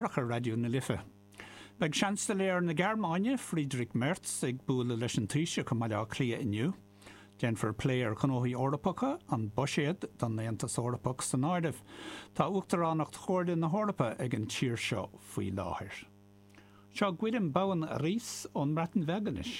Ar Raidió na Life. Beidh Seansailéir na Gearmáine, Friedrich Merz, ag bualadh leis an Taoiseach i mBaile Átha Cliath inniu. Déanfar plé ar ghnóthaí Eorpacha, an buiséad don Aontas Eorpach san áireamh. Tá Uachtaránacht Chomhairle na hEorpa ag an tír seo faoi láthair. Seo Gwilym Bowen Rhys ón mBreatain Bheag anois.